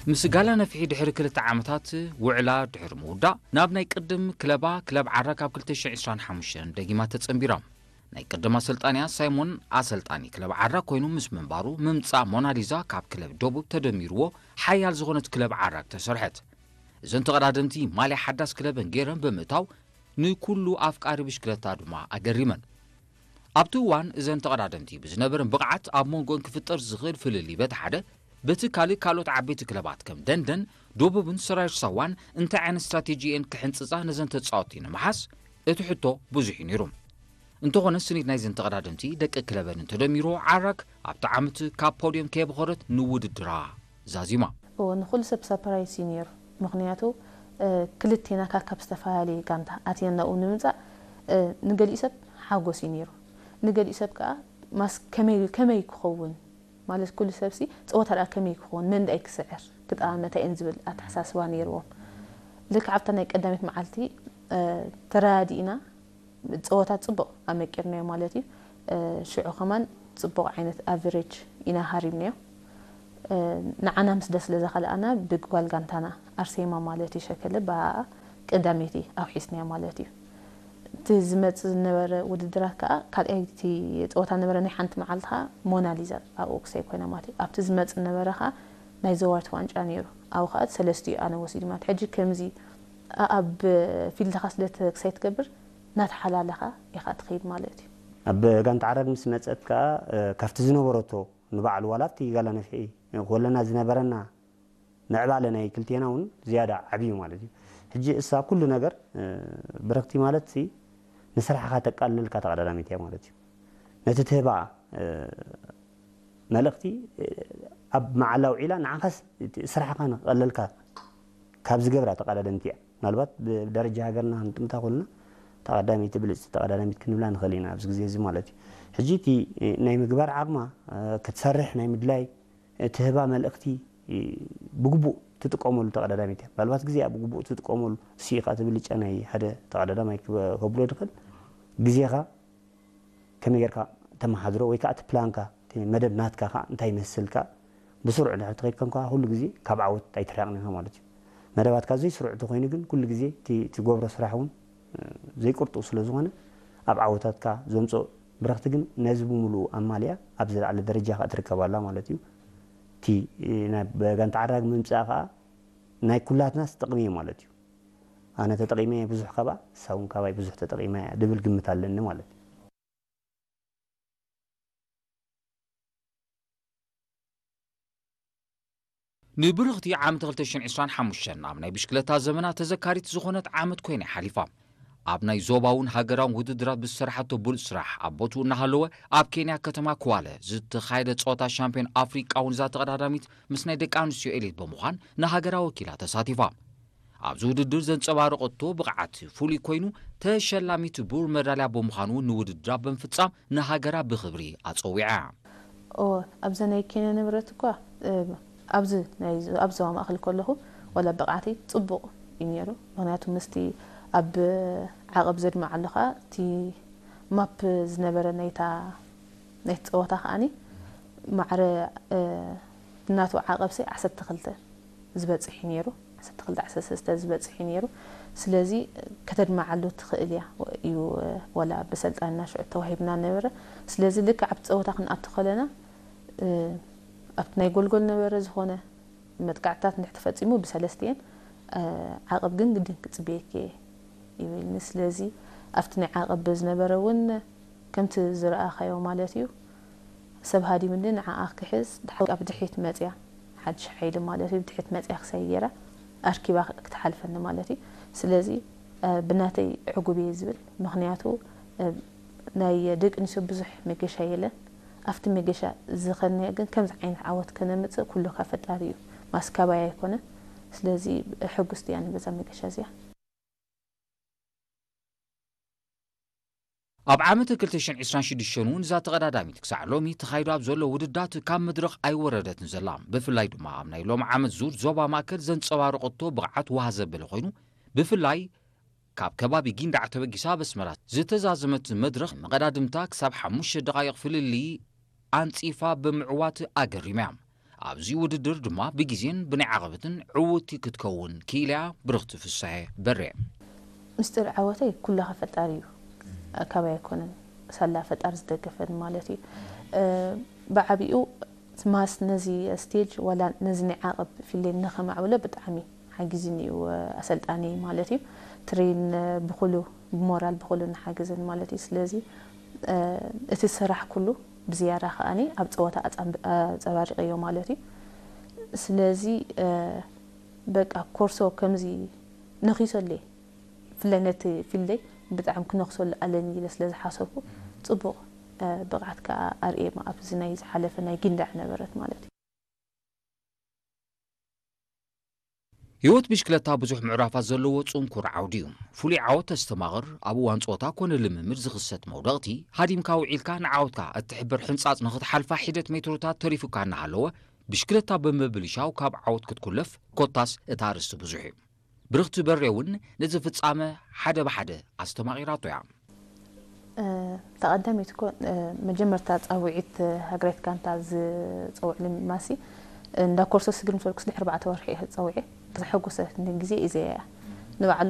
ምስ ጋላ ነፍሒ ድሕሪ ክልተ ዓመታት ውዕላ ድሕሪ ምውዳእ፣ ናብ ናይ ቅድም ክለባ ክለብ ዓራ ካብ ክልተ ሽሕን ዕስራን ሓሙሽተን ደጊማ ተጸንቢራ። ናይ ቅድም ኣሰልጣንያ ሳይሞን ኣሰልጣኒ ክለብ ዓራ ኮይኑ ምስ ምንባሩ፣ ምምጻእ ሞናሊዛ ካብ ክለብ ደቡብ ተደሚርዎ ሓያል ዝኾነት ክለብ ዓራ ተሰርሐት። እዘን ተቐዳደምቲ ማልያ ሓዳስ ክለበን ገይረን ብምእታው፣ ንኩሉ ኣፍቃሪ ብሽክለታ ድማ ኣገሪመን። ኣብቲ እዋን እዘን ተቐዳደምቲ ብዝነበረን ብቕዓት ኣብ መንጎን ክፍጠር ዝኽእል ፍልልይ በቲ ሓደ፣ በቲ ካልእ ካልኦት ዓበይቲ ክለባት ከም ደንደን፣ ደቡብን ሰራየር ሳዋን እንታይ ዓይነት ስትራቴጂ እየን ክሕንጽጻ ነዘን ተጻወትቲ ንምሓዝ እቲ ሕቶ ብዙሕ እዩ ነይሩ። እንተኾነ ስኒት ናይዘን ተቐዳደምቲ ደቂ ክለበን እንተደሚርዎ ዓራግ ኣብቲ ዓመት ካብ ፖድየም ከየብኸረት ንውድድራ ዛዚማ። እዎ፣ ንኹሉ ሰብ ሳፕራይዝ እዩ ነይሩ። ምኽንያቱ፣ እ፣ ክልቴና ካብ፣ ካብ ዝተፈላለየ ጋንታ ኣትየና ናብኡ ንምምጻእ፣ እ፣ ንገሊኡ ሰብ ሓጎስ እዩ ነይሩ። ንገሊኡ ሰብ ከኣ ማስ ከመይ፣ ከመይ ክኸውን? ማለት ኩሉ ሰብሲ ጸወታ ደኣ ከመይ ክኸውን? መን ደኣ ክስዕር? ክጠቓመታ እየን ዝብል ኣተሓሳስባ ነይርዎም። ልክዕ ኣብታ ናይ ቀዳመይቲ መዓልቲ፣ እ፣ ተረዳዲእና፣ ጸወታ ጽቡቕ ኣመቂርናዮ ማለት እዩ። እ፣ ሽዑ ከማን ጽቡቕ ዓይነት ኣቨሬጅ ኢና ሃሪምናዮ። እ፣ ንዓና ምስ ደስ ስለ ዘኸልኣና ብጓል ጋንታና ኣርሴማ ማለት እዩ ሸከለ ብኣኣ ቀዳመይቲ ኣውሒስናዮ ማለት እዩ። እቲ ዝመጽእ ዝነበረ ውድድራት ከኣ ካልኣይቲ ጸወታ ነበረ ናይ ሓንቲ መዓልቲ ከኣ ሞናሊዛ ኣብኡ ክሳይ ኮይና ማለት እዩ። ኣብቲ ዝመጽእ ነበረ ከኣ ናይ ዘዋርት ዋንጫ ነይሩ። ኣብኡ ከኣ ሰለስቲኡ ኣነ ወሲድ ማለት። ሕጂ ከምዚ ኣብ ፊልድኻ ስለ ት-፣ ክሳይ ትገብር እናተሓላለኻ ኢኻ ትኸይድ ማለት እዩ። ኣብ ጋንታ ዓራግ ምስ መጸት ከኣ፣ እ፣ ካብቲ ዝነበረቶ ንባዕሉ ዋላ ኣብቲ ጋላ ነፍሒ ክወለና ዝነበረና ምዕባለ ናይ ክልቴና እውን ዝያዳ ዓብዩ ማለት እዩ። ሕጂ እሳ ኩሉ ነገር፣ እ፣ ብረኽቲ ማለት ሲ ንስራሕኻ ተቃልልካ ተቐዳዳሚት እያ ማለት እዩ። ነቲ ትህባ፣ እ፣ መልእኽቲ፣ እ፣ ኣብ መዓላ ውዒላ ንዓኻስ እቲ ስራሕኻ ንክቐለልካ ካብ ዝገብራ ተቐዳደምቲ እያ። ምናልባት ብደረጃ ሃገርና ክንጥምታ ከለና ተቐዳሚት ብልጽቲ ተቐዳዳሚት ክንብላ ንኽእል ኢና ኣብዚ ግዜ እዚ ማለት እዩ። ሕጂ እቲ፣ እ፣ ናይ ምግባር ዓቕማ፣ እ፣ ክትሰርሕ ናይ ምድላይ፣ እ፣ ትህባ መልእኽቲ፣ እ፣ ብግቡእ ትጥቀመሉ ተቐዳዳሚት እያ። ምናልባት ግዜኣ ብግቡእ ትጥቀመሉ፣ እሱ እዩ ከዓ እቲ ብልጫ ናይ ሓደ ተቐዳዳማይ ክበ-፣ ከብሎ ድኽእል ግዜኻ ከመይ ጌርካ ተመሓድሮ ወይ ከዓ እቲ ፕላንካ፣ እቲ መደብ ናትካ ከዓ እንታይ ይመስል ከዓ ብስሩዕ እንድሕር ተኸይድካ እንኳ ኩሉ ግዜ ካብ ዓወት ኣይትርሕቕን ኢኻ ማለት እዩ። መደባትካ ዘይስሩዕ እንተኾይኑ ግን ኩሉ ግዜ እቲ ትገብሮ ስራሕ እውን፣ እ፣ ዘይቁርጡ ስለ ዝኾነ ኣብ ዓወታትካ ዘምፅኦ ብረኽቲ ግን ነዚ ብምሉኡ ኣማሊኣ ኣብ ዝለዓለ ደረጃ ከዓ ትርከብ ኣላ ማለት እዩ። እቲ፣ እ፣ ናይ በጋንታ ዓራግ ምምፃእ ከዓ ናይ ኩላትናስ ጥቕሚ እዩ ማለት እዩ። ኣነ ተጠቒመ ብዙሕ ካብኣ፣ እሳ እውን ካባይ ብዙሕ ተጠቒማ እያ ድብል ግምት ኣለኒ ማለት እዩ። ንብርኽቲ ዓመት ክልተ ሽሕን ዕስራን ሓሙሽተን ኣብ ናይ ብሽክለታ ዘመና ተዘካሪት ዝኾነት ዓመት ኮይና ሓሊፋ። ኣብ ናይ ዞባውን ሃገራውን ውድድራት ብዝሰርሓቶ ብሉጽ ስራሕ ኣብ ቦትኡ እናሃለወ ኣብ ኬንያ ከተማ ክዋለ ዝተኻየደ ጸወታ ሻምፒዮን ኣፍሪቃ እውን እዛ ተቐዳዳሚት ምስ ናይ ደቂ ኣንስትዮ ኤሊት ብምዃን ንሃገራ ወኪላ ተሳቲፋ። ኣብዚ ውድድር ዘንጸባረቐቶ ብቕዓት ፍሉይ ኮይኑ ተሸላሚት ብሩር መዳልያ ብምዃኑ እውን ንውድድራ ብምፍጻም ንሃገራ ብኽብሪ ኣጸዊዓ። ኦ፣ ኣብዛ ናይ ኬንያ ንብረት እኳ፣ እ፣ ኣብዚ ናይ ዞ-፣ ኣብ ዞባ ማእከል ከለኹ ዋላ ብቕዓተይ ጽቡቕ እዩ ነይሩ። ምኽንያቱ ምስቲ ኣብ ዓቐብ ዘድምዓሉ ኸኣ እቲ ማፕ ዝነበረ ናይታ፣ ናይቲ ጸወታ ከኣኒ ማዕረ፣ እ፣ ናቱ ዓቐብ ሰይ ዓሰርተ ክልተ ዝበጽሕ እዩ ነይሩ። ዓሰርተ ክልተ ዓሰርተ ሰለስተ ዝበጽሕ እዩ ነይሩ። ስለዚ ከተድምዓሉ ትኽእል እያ እዩ፣ ዋላ ብሰልጣንና ሽዑ ተዋሂብና ነበረ። ስለዚ ልክዕ ኣብቲ ጸወታ ክንኣቱ ከለና፣ እ፣ ኣብቲ ናይ ጎልጎል ነበረ ዝኾነ መጥቃዕትታት እንድሕር ተፈጺሙ ብሰለስቲኤን፣ እ፣ ዓቐብ ግን ግድን ክጽበየኪ እየ ይብልኒ። ስለዚ ኣብቲ ናይ ዓቐብ ዝነበረ እውን ከምቲ ዝረኣኻዮ ማለት እዩ፣ ሰብ ሃዲምኒ ንዓኣ ክሕዝ ድሓ-፣ ኣብ ድሕሪት መጽያ፣ ሓድሽ ሓይሊ ማለት እዩ፣ ብድሕሪት መጽያ ክሳይ ገይራ ኣርኪባ ክትሓልፈኒ ማለት እዩ። ስለዚ፣ እ፣ ብናተይ ዕጉብ እየ ዝብል፣ ምኽንያቱ፣ እ፣ ናይ ደቂ ኣንስትዮ ብዙሕ መገሻ የለን። ኣብቲ መገሻ ዝኸድናዮ ግን ከምዚ ዓይነት ዓወት ከነምጽእ ኩሉ ካብ ፈጣሪ እዩ፣ ማስካባይ ኣይኮነን። ስለዚ ሕጉስቲ እያ በዛ መገሻ እዚኣ። ኣብ ዓመት ክልተ ሽሕን ዕስራን ሽዱሽተን እውን እዛ ተቐዳዳሚት ክሳዕ ሎሚ ተኻይዱ ኣብ ዘሎ ውድዳት ካብ መድረኽ ኣይወረደትን ዘላ። ብፍላይ ድማ ኣብ ናይ ሎም ዓመት ዙር ዞባ ማእከል ዘንጸባረቐቶ ብቕዓት ዋህ ዘበለ ኮይኑ፣ ብፍላይ ካብ ከባቢ ጊንዳዕ ተበጊሳ ኣብ ኣስመራ ዝተዛዘመት መድረኽ መቐዳድምታ ክሳብ ሓሙሽተ ደቓይቕ ፍልልይ ኣንጺፋ ብምዕዋት ኣገሪማ እያ። ኣብዚ ውድድር ድማ ብግዜን ብናይ ዓቐበትን ዕውቲ ክትከውን ክኢላ እያ ብርኽቲ ፍሳሐ በሬ። ምስጢር ዓወተይ ኩላኸ ፈጣሪ እዩ። ካባይ ኣይኮነን፣ ሳላ ፈጣሪ ዝደገፈን ማለት እዩ። ብዓቢኡ ማስ ነዚ ስቴጅ ዋላ ነዚ ናይ ዓቐብ ፊልደይ ንኸማዕብሎ ብጣዕሚ ሓጊዝኒ እዩ ኣሰልጣኒ ማለት እዩ። ትሬን ብኩሉ ብሞራል ብኩሉ ንሓግዝን ማለት እዩ። ስለዚ እቲ ስራሕ ኩሉ ብዝያዳ ከኣኒ ኣብ ፀወታ ኣፀባሪቀዮ ማለት እዩ። ስለዚ በቃ ኮርሶ ከምዚ ነኺሰለይ ብፍላይ ነቲ ፊልደይ ብጣዕሚ ክነኽሰሉ ኣለኒ ኢለ ስለ ዝሓሰብኩ ፅቡቕ ብቕዓት ከዓ ኣርእየ ኣብዚ ናይ ዝሓለፈ ናይ ጊንዳዕ ነበረት ማለት እዩ። ህይወት ብሽክለታ ብዙሕ ምዕራፋት ዘለዎ ጽንኩር ዓውዲ እዩ። ፍሉይ ዓወት ተስተማቕር ኣብ እዋን ጾታ ኮነ ልምምድ ዝኽሰት መውደቕቲ ሃዲምካ ውዒልካ ንዓወትካ እትሕብር ሕንጻጽ ንኽትሓልፋ ሒደት ሜትሮታት ተሪፉካ እናሃለወ ብሽክለታ ብምብልሻው ካብ ዓወት ክትኩለፍ ኮታስ እቲ ኣርእስቲ ብዙሕ እዩ። ብርኽቲ በሬ እውን ነዚ ፍጻመ ሓደ ብሓደ ኣስተማቒራቶ እያ። ተቐዳሚት እኮ መጀመርታ ፃውዒት ሃገራዊት ጋንታ ዝፀውዕሉ ማሲ እንዳ ኮርሶ ስግር ምስ በልኩስ ድሕሪ ኣርባዕተ ወርሒ እየ ፀውዒ። ዘሐጉሰትኒ ግዜ እዚኣ እያ። ንባዕሉ